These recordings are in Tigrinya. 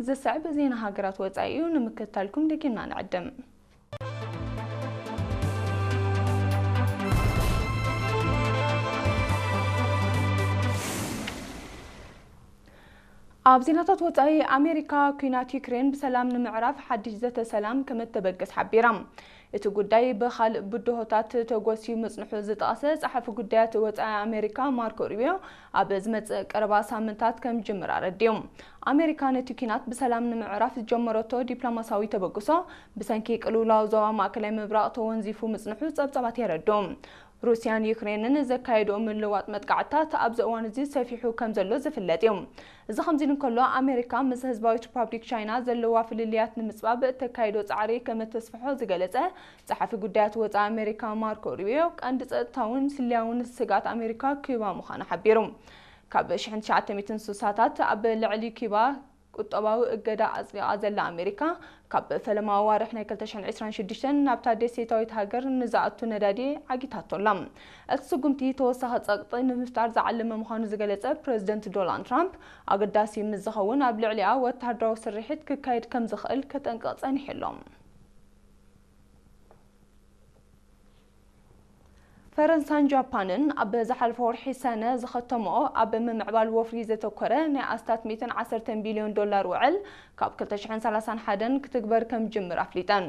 ዝስዕብ ዜና ሃገራት ወጻኢ እዩ፣ ንምክትታልኩም ደጊምና ንዕድም። ኣብ ዜናታት ወጻኢ፣ ኣሜሪካ ኲናት ዩክሬን ብሰላም ንምዕራፍ ሓድሽ ዘተ ሰላም ከም እተበግስ ሓቢራ። እቲ ጉዳይ ብኻልእ ብድሆታት ተጎስዩ ምጽንሑ ዝጠቐሰ ጸሓፊ ጉዳያት ወጻኢ ኣሜሪካ ማርኮ ሩቢዮ፣ ኣብ ዝመጽእ ቀረባ ሳምንታት ከም ጅምር ኣረዲኡ። ኣሜሪካ ነቲ ኲናት ብሰላም ንምዕራፍ ዝጀመረቶ ዲፕሎማሲያዊ ተበግሶ፣ ብሰንኪ ቅልውላው ዞባ ማእከላይ ምብራቕ ተወንዚፉ ምጽንሑ ጸብጻባት የረድኡ። ሩስያን ዩክሬንን ዘካየድኦ ምልውዋጥ መጥቃዕትታት ኣብዚ እዋን እዚ ሰፊሑ ከም ዘሎ ዝፍለጥ እዩ። እዚ ከምዚ ኢሉ እንከሎ፣ ኣሜሪካ ምስ ህዝባዊት ሪፓብሊክ ቻይና ዘለዋ ፍልልያት ንምጽባብ እተካይዶ ጻዕሪ ከም እተስፍሖ ዝገለጸ ጸሓፊ ጉዳያት ወጻኢ ኣሜሪካ ማርኮ ሩቢዮ፣ ቀንዲ ጸጥታውን ስልያውን ስግኣት ኣሜሪካ ኪዩባ ምዃና ሓቢሩ። ካብ ሽሕን ትሽዓተ ሚእትን ስሳታት ኣብ ልዕሊ ኪዩባ ቁጠባዊ እገዳ ኣጽዲቓ ዘላ ኣሜሪካ፣ ካብ ፈለማ ኣዋርሕ ናይ ክልተ ሽሕን ዕስራን ሽዱሽተን ናብታ ደሴታዊት ሃገር ንዝኣቱ ነዳዲ ዓጊታቶ ኣላ። እቲ ስጉምቲ ተወሳኺ ጸቕጢ ንምፍጣር ዝዓለመ ምዃኑ ዝገለጸ ፕረዚደንት ዶናልድ ትራምፕ፣ ኣገዳሲ ምስ ዝኸውን ኣብ ልዕሊኣ ወተሃደራዊ ስርሒት ክካየድ ከም ዝኽእል ከጠንቅቕ ጸኒሑ ኣሎ። ፈረንሳን ጃፓንን ኣብ ዝሓለፈ ወርሒ ሰነ ዝኸተምኦ ኣብ ምምዕባል ወፍሪ ዘተኮረ ናይ ኣስታት ሚእትን ዓሰርተን ቢልዮን ዶላር ውዕል ካብ ክልተ ሽሕን ሰላሳን ሓደን ክትግበር ከም ጅምር ኣፍሊጠን።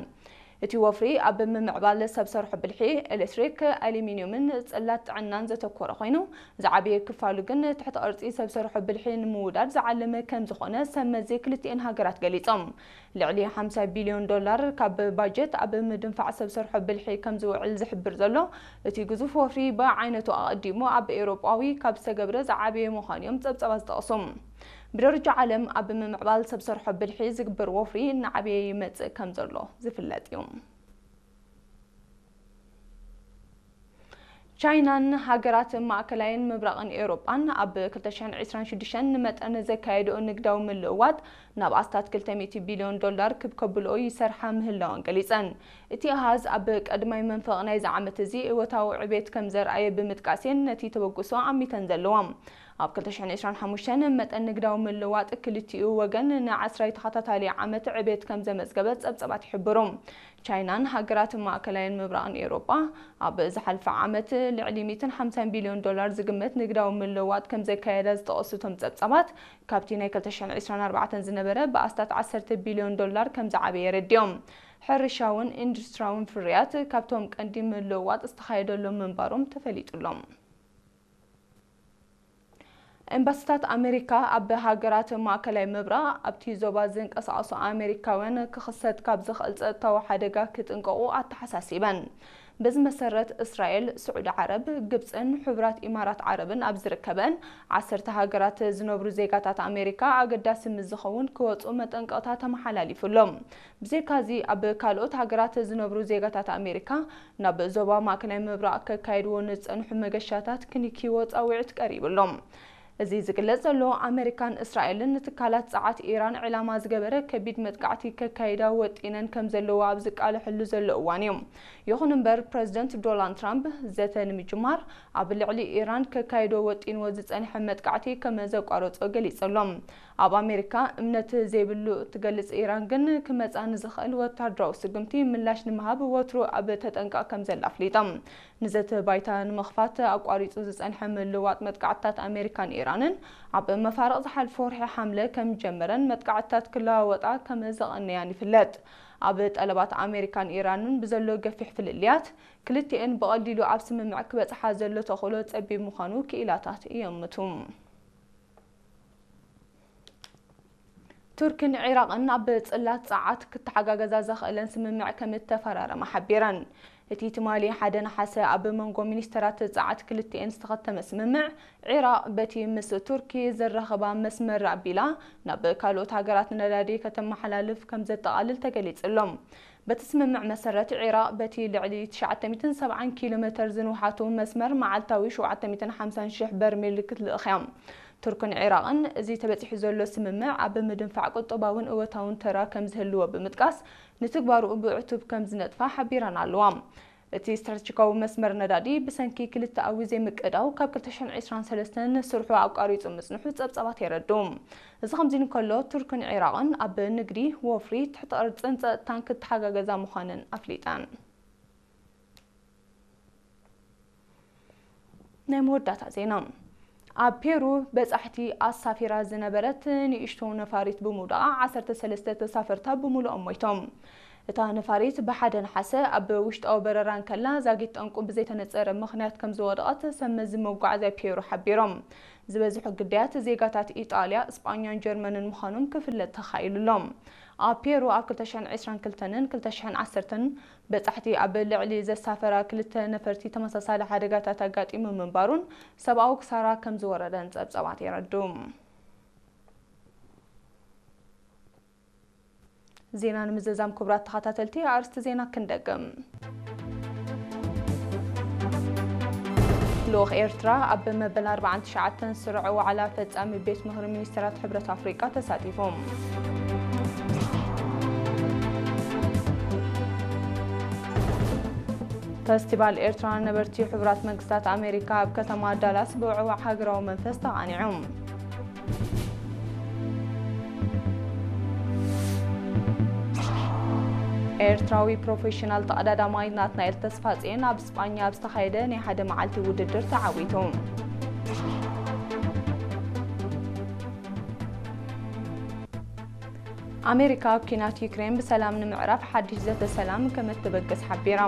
እቲ ወፍሪ ኣብ ምምዕባል ሰብ ሰርሖ ብልሒ፣ ኤሌክትሪክ፣ ኣሉሚንዩምን ጽላት ጥዕናን ዘተኮረ ኮይኑ፣ ዝዓበየ ክፋሉ ግን ትሕቲ ቅርጺ ሰብ ሰርሖ ብልሒ ንምውዳድ ዝዓለመ ከም ዝኾነ ሰብ መዚ ክልቲኤን ሃገራት ገሊጾም። ልዕሊ ሓምሳ ቢልዮን ዶላር ካብ ባጀት ኣብ ምድንፋዕ ሰብ ሰርሖ ብልሒ ከም ዝውዕል ዝሕብር ዘሎ እቲ ግዙፍ ወፍሪ፣ ብዓይነቱ ኣቐዲሙ ኣብ ኤውሮጳዊ ካብ ዝተገብረ ዝዓበየ ምዃኑ እዮም ጸብጻባት ዝጠቕሱ። ብደረጃ ዓለም ኣብ ምምዕባል ሰብ ሰርሖ ብልሒ ዝግበር ወፍሪ እናዓበየ ይመጽእ ከም ዘሎ ዝፍለጥ እዩ። ቻይናን ሃገራት ማእከላይን ምብራቕን ኤውሮጳን ኣብ ክልተ ሽሕን ዕስራን ሽዱሽተን ንመጠን ዘካየድኦ ንግዳዊ ምልውዋጥ ናብ ኣስታት ክልተ ሚእቲ ቢልዮን ዶላር ክብ ከብልኦ ይሰርሓ ምህላወን ገሊጸን። እቲ ኣሃዝ ኣብ ቀዳማይ መንፈቕ ናይዚ ዓመት እዚ እወታዊ ዕቤት ከም ዘርኣየ ብምጥቃስ እየን ነቲ ተበግሶ ኣሚተን ዘለዋ። ኣብ ክልተ ሽሕን ዕስራን ሓሙሽተን መጠን ንግዳዊ ምልውዋጥ ክልቲኡ ወገን ንዓስራይ ተኸታታሊ ዓመት ዕቤት ከም ዘመዝገበ ጸብጻባት ይሕብሩ። ቻይናን ሃገራት ማእከላይን ምብራቕን ኤውሮጳ ኣብ ዝሓልፈ ዓመት ልዕሊ ሚእትን ሓምሳን ቢልዮን ዶላር ዝግመት ንግዳዊ ምልውዋጥ ከም ዘካየዳ ዝጠቐሱ እቶም ጸብጻባት፣ ካብቲ ናይ ክልተ ሽሕን ዕስራን ኣርባዕተን ዝነበረ ብኣስታት ዓሰርተ ቢልዮን ዶላር ከም ዝዓበየ ኣረዲኦም። ሕርሻውን ኢንዱስትሪያውን ፍርያት ካብቶም ቀንዲ ምልውዋጥ ዝተኻየደሎም ምንባሮም ተፈሊጡ ኣሎ። ኤምባሲታት ኣሜሪካ ኣብ ሃገራት ማእከላይ ምብራቕ ኣብቲ ዞባ ዝንቀሳቐሱ ኣሜሪካውያን ክኽሰት ካብ ዝኽእል ጸጥታዊ ሓደጋ ክጥንቀቑ ኣተሓሳሲበን። በዚ መሰረት፣ እስራኤል፣ ስዑዲ ዓረብ፣ ግብጽን ሕቡራት ኢማራት ዓረብን ኣብ ዝርከበን ዓሰርተ ሃገራት ዝነብሩ ዜጋታት ኣሜሪካ ኣገዳሲ ምስ ዝኸውን ክወጹ መጠንቀቕታ ተመሓላሊፉሎም። ብዘይካዚ፣ ኣብ ካልኦት ሃገራት ዝነብሩ ዜጋታት ኣሜሪካ ናብ ዞባ ማእከላይ ምብራቕ ከካይድዎ ንዝጸንሑ መገሻታት ክኒክይዎ ጻውዒት ቀሪቡሎም። እዚ ዝግለጽ ዘሎ፣ ኣመሪካን እስራኤልን ንትካላት ጸዓት ኢራን ዕላማ ዝገበረ ከቢድ መጥቃዕቲ ከካይዳ ወጢነን ከም ዘለዋ ኣብ ዝቃለሐሉ ዘሎ እዋን እዩ። ይኹን እምበር፣ ፕረዚደንት ዶናልድ ትራምፕ ዘተ ንምጅማር ኣብ ልዕሊ ኢራን ከካይዶ ወጢንዎ ዝጸንሐ መጥቃዕቲ ከም ዘቋረጾ ገሊጹ ኣሎ። ኣብ ኣሜሪካ እምነት ዘይብሉ እትገልጽ ኢራን ግን፣ ክመጻ ንዝኽእል ወታደራዊ ስጉምቲ ምላሽ ንምሃብ ወትሩ ኣብ ተጠንቀቕ ከም ዘላ ኣፍሊጣ። ንዘተ ባይታ ንምኽፋት ኣቋሪጹ ዝጸንሐ ምልውዋጥ መጥቃዕትታት ኣሜሪካን ኢራንን፣ ኣብ መፋርቕ ዝሓለፈ ወርሒ ሓምለ ከም ጀመረን መጥቃዕትታት ክለዋወጣ ከም ዘቐነያን ይፍለጥ። ኣብ ጠለባት ኣሜሪካን ኢራንን ብዘሎ ገፊሕ ፍልልያት፣ ክልቲኤን ብቐሊሉ ኣብ ስምምዕ ክበጽሓ ዘሎ ተኽእሎ ጸቢብ ምዃኑ ክኢላታት ይእምቱ። ቱርክን ዒራቕን ኣብ ጽላት ጸዓት ክተሓጋገዛ ዘኽእለን ስምምዕ ከም እተፈራረማ ሓቢረን። እቲ ትማሊ ሓደ ነሓሰ ኣብ መንጎ ሚኒስተራት ጸዓት ክልቲኤን ዝተኸተመ ስምምዕ፣ ዒራቕ በቲ ምስ ቱርኪ ዘራኽባ መስመር ኣቢላ ናብ ካልኦት ሃገራት ነዳዲ ከተመሓላልፍ ከም ዘጠቓልል ተገሊጹ ኣሎ። በቲ ስምምዕ መሰረት፣ ዒራቕ በቲ ልዕሊ ትሽዓተ ሚእትን ሰብዓን ኪሎ ሜተር ዝንውሓቱ መስመር መዓልታዊ ሸውዓተ ሚእትን ሓምሳን ሽሕ በርሜል ክትልእኽ እያ። ቱርክን ዒራቕን እዚ ተበጺሑ ዘሎ ስምምዕ ኣብ ምድንፋዕ ቁጠባውን እወታውን ተራ ከም ዝህልዎ ብምጥቃስ፣ ንትግባርኡ ብዕቱብ ከም ዝነጥፋ ሓቢረን ኣለዋ። እቲ ስትራቴጂካዊ መስመር ነዳዲ ብሰንኪ ክልተኣዊ ዘይምቅዳው ካብ ክልተ ሽሕን ዕስራን ሰለስተን ስርሑ ኣቋሪጹ ምጽንሑ ጸብጻባት የረድኡ። እዚ ከምዚ እንከሎ፣ ቱርክን ዒራቕን ኣብ ንግዲ፣ ወፍሪ፣ ትሕተ ቅርጽን ጸጥታን ክተሓጋገዛ ምዃነን ኣፍሊጠን። ናይ መወዳእታ ዜና። ኣብ ፔሩ በጻሕቲ ኣሳፊራ ዝነበረት ንእሽቶ ነፋሪት ብምውዳቓ ዓሰርተ ሰለስተ ተሳፈርታ ብምሉኦም ሞይቶም። እታ ነፋሪት ብሓደ ነሓሰ ኣብ ውሽጣዊ በረራ እንከላ ዛጊት ጠንቁ ብዘይተነጸረ ምኽንያት ከም ዝወደቐት ሰብ መዚ መጓዓዝያ ፔሩ ሓቢሮም። ዝበዝሑ ግዳያት ዜጋታት ኢጣልያ፣ እስጳኛን ጀርመንን ምዃኖም ክፍለጥ ተኻኢሉ ኣሎ። ኣብ ፔሩ ኣብ ክልተ ሽሕን ዕስራን ክልተን ክልተ ሽሕን ዓሰርተን በጻሕቲ ኣብ ልዕሊ ዘሳፈራ ክልተ ነፈርቲ ተመሳሳሊ ሓደጋታት ኣጋጢሙ ምንባሩን ሰብኣዊ ክሳራ ከም ዝወረደን ጸብጻባት የረድኡ። ዜና ንምዝዛም ክቡራት ተኸታተልቲ ኣርእስቲ ዜና ክንደግም። ልኡኽ ኤርትራ ኣብ መበል ኣርባዓን ትሽዓተን ስሩዕ ዋዕላ ፈጻሚ ቤት ምኽሪ ሚኒስትራት ሕብረት ኣፍሪቃ ተሳቲፎም። ፈስቲቫል ኤርትራውያን ነበርቲ ሕቡራት መንግስታት ኣሜሪካ ኣብ ከተማ ዳላስ ብውዕዋዕ ሃገራዊ መንፈስ ተቓኒዑ። ኤርትራዊ ፕሮፌሽናል ተቐዳዳማይ ናትናኤል ተስፋጽዮን ኣብ ስጳኛ ኣብ ዝተኻየደ ናይ ሓደ መዓልቲ ውድድር ተዓዊቱ። ኣሜሪካ ኣብ ኲናት ዩክሬን ብሰላም ንምዕራፍ ሓድሽ ዘተ ሰላም ከም እትበግስ ሓቢራ።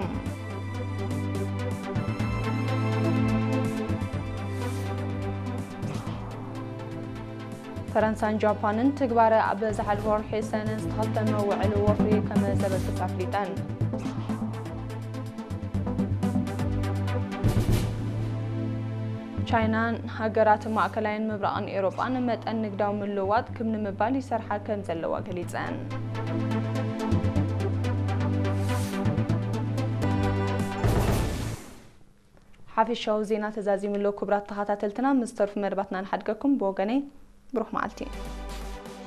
ፈረንሳን ጃፓንን ትግባረ ኣብ ዝሓለፈ ወርሒ ሰነ ዝተኸተመ ውዕል ወፍሪ ከም ዘበግስ ኣፍሊጠን። ቻይናን ሃገራት ማእከላይን ምብራቕን ኤውሮጳን መጠን ንግዳዊ ምልውዋጥ ክብ ንምባል ይሰርሓ ከም ዘለዋ ገሊጸን። ሓፈሻዊ ዜና ተዛዚሙ ኣሎ። ክቡራት ተኸታተልትና፣ ምስ ዝተርፉ መደባትና ንሓድገኩም። ብወገነይ ብሩኽ መዓልቲ።